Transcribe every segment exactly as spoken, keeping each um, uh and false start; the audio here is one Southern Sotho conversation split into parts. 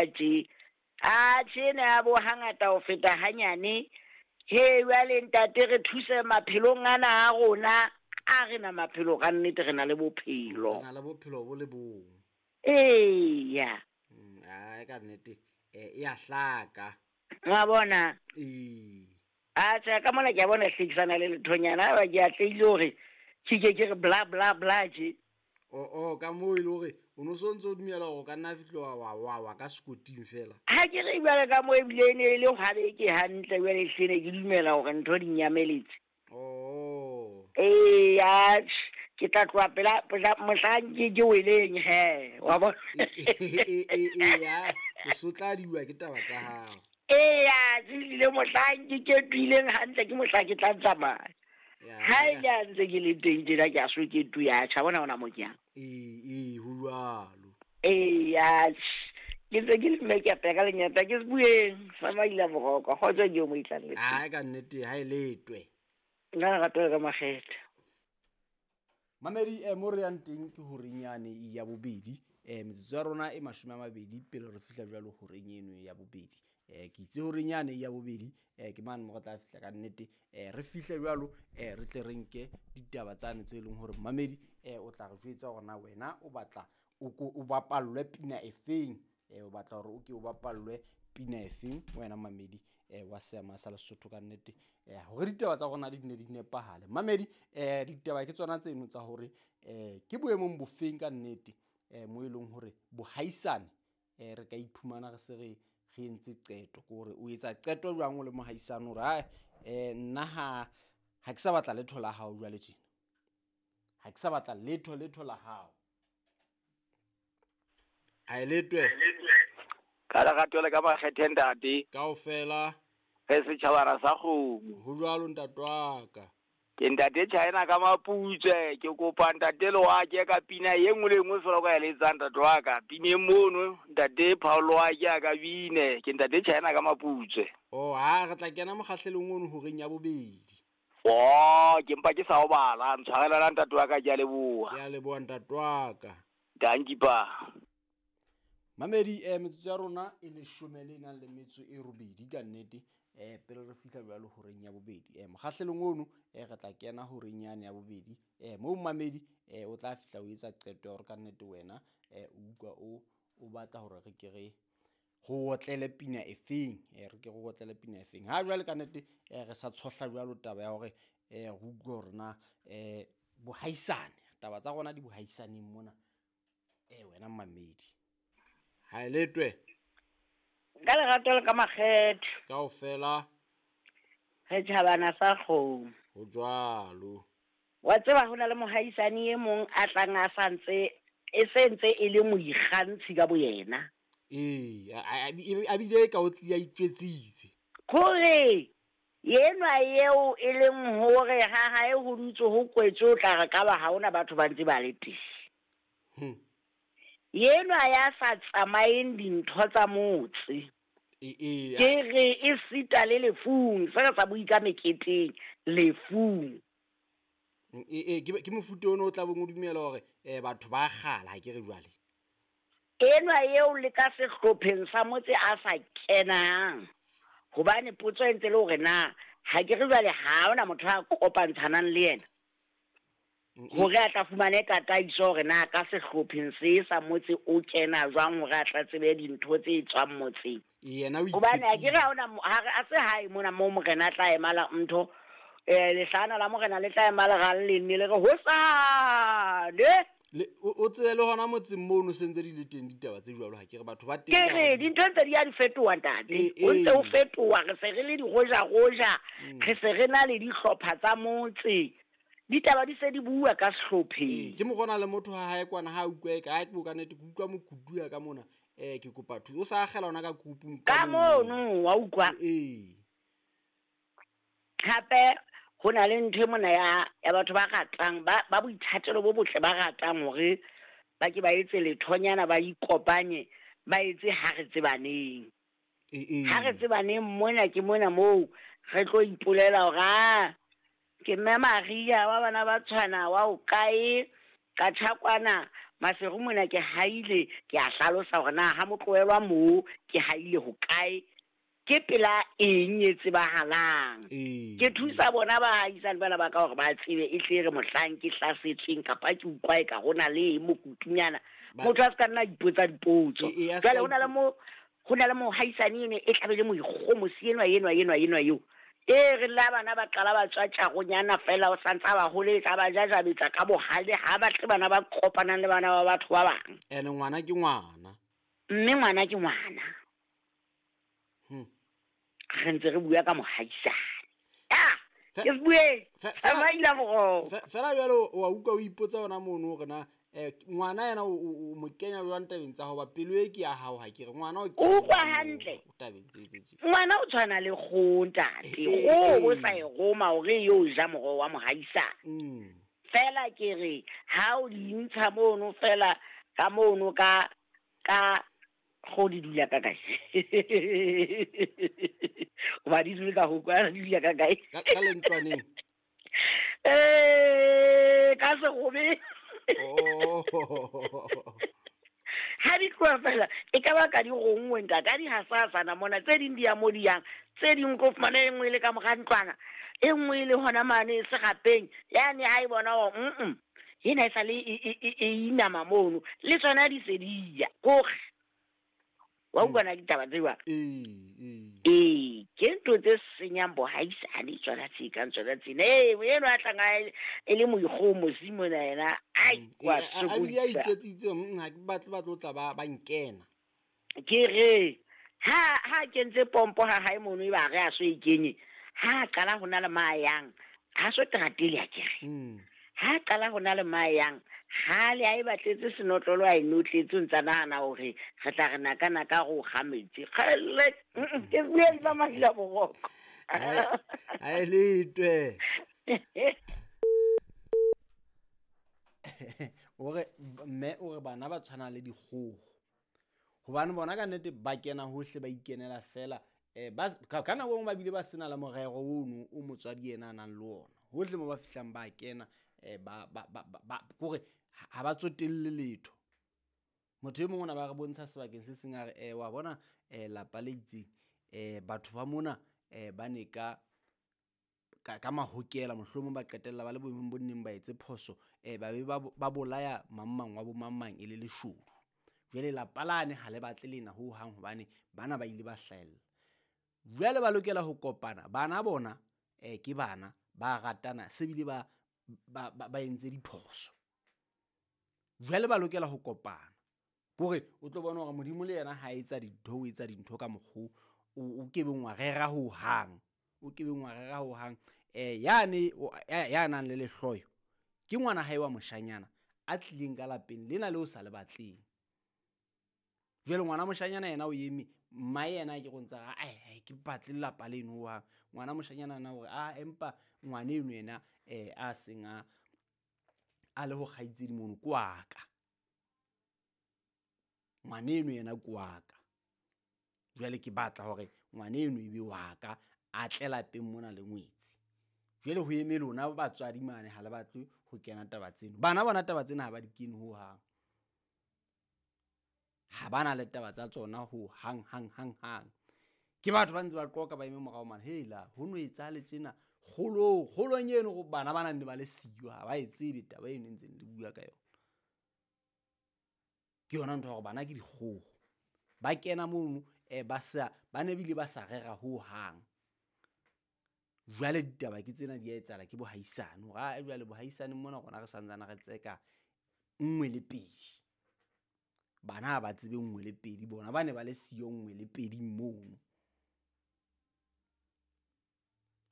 Tje a tjhe ne a bo hangata ho feta hanyane. He jwale ntate re thuse maphelong ana a rona, a re na maphelo ka nnete re na le bophelo. Re na le bophelo bo le bong. Eya. Mm, ai ka nnete eh e a hlaka. Wa bona? Ee. Atjhe ka mona ke a bona hlekisana le lethonyana ba ke atlehile hore ke ke ke re bla bla bla tje. O o ka moo e le hore o no so ntso o dumela hore o ka nna fihla wa wa wa wa ka sekoting fela. Ha ke re jwale ka moo ebile e ne e le hwa beke hantle jwale ehlile ne ke dumela hore ntho di nyameletse. Oh. Eya, ke tla tloha pela pela mohlang ke ke weleng he, wa bona? E e e ya, o so tla diwa ke taba tsa hao. Eya, ehlile mohlang ke ketuileng hantle ke mohlang ke tla tsamaya. Ya. Ha e le a ntse ke le teng tjena ke a so ketu ya tjha bona hona mo ke yang. Ee ee ho jwalo. Eya, ke ntse ke le mme ke apeya ka lenyata ke se bueng sa maila boroko kgotso ke yo mo itlang le teng. Ai ka nnete ha e letwe. Nna lerato le ka makgethe. Mamedi eh mo re yang teng ke horeng yane ya bobedi. Eh metsotso ya rona e mashome a mabedi pele re fihla jwalo horeng eno ya bobedi. Eh ke itse horeng yane ya bobedi eh ke mane mo re tla fihla ka nnete eh re fihle jwalo eh re tle re nke ditaba tsane tse leng hore mamedi eh o tla re jwetsa hore na wena o batla o ko o bapallwe pina efeng, eh o batla hore o ke o bapallwe pina efeng wena mamedi eh wa seama sa Lesotho ka nnete eh hore ditaba tsa rona di ne di nepahale. Mamedi eh ditaba ke tsona tseno tsa hore eh ke boemong bofeng ka nnete eh mo e leng hore bohaisane eh re ka iphumana re se re re entse qeto, ke hore o etsa qeto jwang o le mohaisane hore hai eh nna ha ha ke sa batla letho la hao jwale tjena, ha ke sa batla letho letho la hao. A e letwe Ka lerato le ka makgethe ntate. Kaofela. Re setjhabana sa kgomo. Ho jwalo ntate wa ka. Ke ntate China ka Maputswe, ke kopa ntate Loake ka pina e nngwe le e nngwe feela o ka e letsang ntate wa ka. Pineng mono ntate Paul Loake a ka bine, ke ntate China ka Maputswe. Oh, ha re tla kena mokgahlelong ono horeng ya bobedi. Oh, ke mpa ke sa o bala, ntshwarela ntate wa ka, ke a leboha. Ke a leboha ntate wa ka. Dankie pa. Mamedi eh metsotso ya rona e leshome le nang le metso e robedi ka nnete eh pele re fihla jwalo horeng ya bobedi. Eh mokgahlelong ono eh re tla kena horeng yane ya bobedi. Eh moo mamedi eh o tla fihla o etsa qeto ya hore ka nnete wena eh o utlwa o o batla hore re ke re go otlele pina efeng, eh re ke go otlele pina efeng. Ha jwale ka nnete eh re sa tshohla jwalo taba ya hore eh re utlwe hore na eh bohaisane, taba tsa rona di bohaisaneng mona eh wena mamedi. Ha e letwe. Ka lerato le ka makgethe. Kaofela. Re tjhabana sa kgomo. Ho jwalo. Wa tseba ho na le mohaisane e mong a tlang a sa ntse e se ntse e le moikgantshi ka boyena. Ee, a bile ka o tlia itjwetsitse. Kore yenwa eo e leng hore ha hae ho dutse ho kwetse o tla re ka ba ha hona batho ba ntse ba le teng. Hmm. Yenwa ya sa tsamaeng dintho tsa motse. E e. Ke re e sita le lefung, se re sa bue ka meketeng, lefung. E e ke ke mofuta ono o tla bong o dumela hore eh batho ba kgala ha ke re jwale. Enwa eo le ka sehlopheng sa motse a sa kenang. Hobane potso e ntse le hore na ha ke re jwale ha hona motho a kopantshanang le yena. Hore a tla fumane tataiso hore na ka sehlopheng se sa motse o kena jwang hore a tla tsebe dintho tse tswang motseng. Yena o Hobane ha ke re ha hona ha re a se hae mona moo morena a tla emala ntho eh lehlana la morena le tla emala ga le nne le re hosane. Le o tsebe le hona motseng mono se ntse di le teng ditaba tse jwalo ha ke re batho ba teng. Ke re dintho ntse di a di fetoha ntate. O ntse o fetoha, re se re le digoja goja, re se re na le dihlopha tsa motse. Ditaba di se di bua ka sehlopheng. Ke mo gona le motho ha hae kwana ha utlwe ka ha ke bo ka nnete ke utlwa mokutu ya ka mona eh ke kopa thuso o sa akgela ona ka kupung ka mono wa utlwa. Ee. Hape ho na le ntho e mona ya ya batho ba ratang ba ba boithatelo bo botle ba ratang hore ba ke ba etse lethonyana ba ikopanye ba etse ha re tsebaneng. Ee. Ha re tsebaneng mona ke mona moo re tlo ipolela hore a ke mme Maria wa bana ba tshwana wa o kae ka tshakwana Maseru mona ke haile ke a hlalosa hore na ha motloelwa moo ke haile hokae, ke pela eng e tsebahalang. Ke thusa bona baahisane bana ba ka hore ba tsebe e tle re mohlang ke hlasetsweng kapa ke utlwa e ka hona le mokutunyana, motho a se ka nna ipotsa dipotso. Jwale hona le mo ho na le mohaisane eno e tlabe le moikgomosi enwa enwa enwa enwa eo. E re la bana ba qala ba tswa tjaronyana fela o santsa ba holetsa ba jajabetsa ka bohale ha ba tle bana ba kopanang le bana ba batho ba bang. Ene ngwana ke ngwana. Mme ngwana ke ngwana. Hmm. Re ntse re bua ka mohaisane. Ah, ke bue. Tsamaila moro. Fela jwale wa utlwa o ipotsa hona mono hore na eh ngwana yena o mo kenya jwang tabeng tsa hoba pelo e ke ya hao ha ke re ngwana o ke utlwa hantle tabeng tse tse tse. Ngwana o tshwana le kgoho ntate. Kgoho o sa e roma hore yo ja moro wa mohaisane. Mm. Fela ke re ha o di ntsha mono fela ka mono ka ka go di dula ka kae. O ba di dula ka ho kwa di dula ka kae? Ka ka lentlwaneng. Eh ka se gobe. Oh. Ha di tloha fela e ka ba ka di gongwe ntate a di hasasana mona tse ding di ya mo di yang tse ding ko fumana e nngwe e le ka mora ntlwana e nngwe e le hona mane serapeng yane ha e bona hore mm ena e sa le e inama mono le tsona di se di ya kore wa utlwa na ditaba tseo. Ee ee ee ke ntho tse senyang bohaisane tsona tse kang tsona tsena. Ee eno a tlang e le moikgomosi mona yena ai wa a bile a itjwetsitse ha ke batle ba tlo tla ba ba nkena. Ke re ha ha kentse pompo ha hae mono e ba re a so e kenye ha qala hona le mayang ha so teratele a ke re ha qala hona le mayang ha le a e batletse senotlolo a e notletse ntsa nahana hore re tla re naka naka go ga metsi kgele ke bue ba mahila boroko ha e letwe o re mme o re bana ba tshwana le dikgogo hobane bona ka nnete ba kena hohle ba ikenela fela eh ba ka nako engwe ba bile ba sena la morero ono o motswadi yena a nang le ona hohle mo ba fihlang ba kena eh ba ba ba kore ha ba tsotelle letho. Motho e mongwe ona ba re bontsha sebakeng se seng a re eh wa bona eh lapa le itseng eh batho ba mona eh ba ne ka ka ka mahokela mohlomong ba qetella ba le boemong bo nneng ba etse phoso eh ba be ba bolaya mang mang wa bo mang mang e le leshodu. Jwale lapa lane ha le batle lena ho hang hobane bana ba ile ba hlahella. Jwale ba lokela ho kopana bana bona eh ke bana ba ratana se bile ba ba ba entse diphoso. Jwale ba lokela ho kopana kore o tlo bona hore Modimo le yena ha etsa dintho o etsa dintho ka mokgo o kebeng wa rera ho hang o kebeng wa rera ho hang eh yane ya nang le lehloyo ke ngwana hae wa moshanyana a tlileng ka lapeng lena le o sa le batleng. Jwale ngwana moshanyana yena o eme mma yena ke go ntsa ai ke batle lapa leno wa ngwana moshanyana na hore a empa ngwana eno yena eh a seng a a le ho kgaitsedi mono kwaka ngwana eno yena kwaka jwale ke batla hore ngwana eno ebe waka a tle lapeng mona le ngwetsi. Jwale ho eme lona batswadi mane ha le batle ho kena taba tseno bana bona taba tsena ha ba di kene ho hang ha bana le taba tsa tsona ho hang hang hang hang ke batho ba ntse ba qoka ba eme morao mane hela ho no etsa le tsena kgolo kgolong eno go bana ba nang le ba le siyo ha ba e tsebe taba eno e ntseng le bua ka yona. Ke yona ntho ya hore bana ke dikgogo ba kena mono eh ba sa ba ne bile ba sa rera ho hang. Jwale ditaba ke tsena di a etsahala ke bohaisane hore a jwale bohaisane mona rona re santsana re tseka nngwe le pedi bana ha ba tsebe nngwe le pedi bona ba ne ba le siyo nngwe le pedi mono.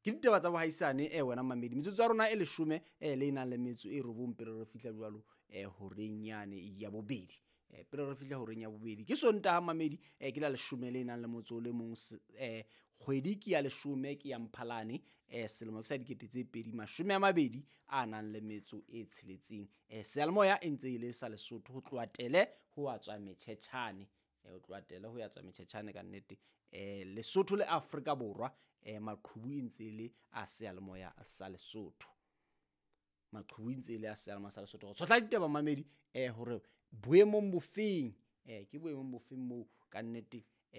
Ke ditaba tsa bohaisane eh wena mamedi metsotso ya rona e leshome eh le nang le metso e robong pele re fihla jwalo eh horeng yane ya bobedi eh pele re fihla horeng ya bobedi ke Sontaha mamedi eh ke la leshome le nang le motso o le mong eh kgwedi ke ya leshome ke ya Mphalane eh selemo ke sa dikete tse pedi mashome a mabedi a nang le metso e tsheletseng eh seyalemoya e ntse e le sa Lesotho ho tloha Tele ho a tswa Metjhetjhane eh ho tloha Tele ho ya tswa Metjhetjhane ka nnete eh Lesotho le Afrika Borwa eh maqhubu e ntse e le a seyalemoya sa Lesotho maqhubu e ntse e le a seyalemoya sa Lesotho. Go tshotla ditaba mamedi eh hore Boemong bofeng, eh ke boemong bofeng moo ka nnete